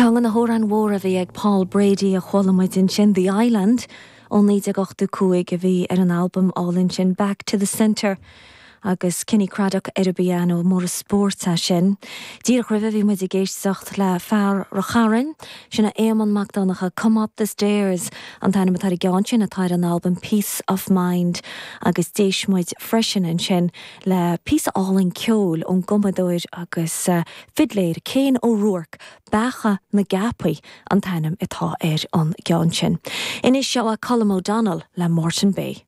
Ceann de na hamhráin mhóra a bhí ag Paul Brady a chuala muid ansin, The Island, ó 1985 a bhí ar an albam álainn sin, Back to the Centre, agus Kenny Craddock ar an bpianó, mór an spórt é sin. Díreach roimhe bhí muid ag éisteacht le fear Ráth Chairn, sin é Éamonn Mac Donncha, Come Up the Stairs an t-ainm atá ar an gceann sin atá ar an albam Peace of Mind agus d'éist muid freisin ansin le píosa álainn ceoil ón gcumadóir agus fidléir Cian Ó Ruairc, Beacha na gCeapaí an t-ainm atá ar an gceann sin. Anois seo é Colm O'Donnell le Moreton Bay.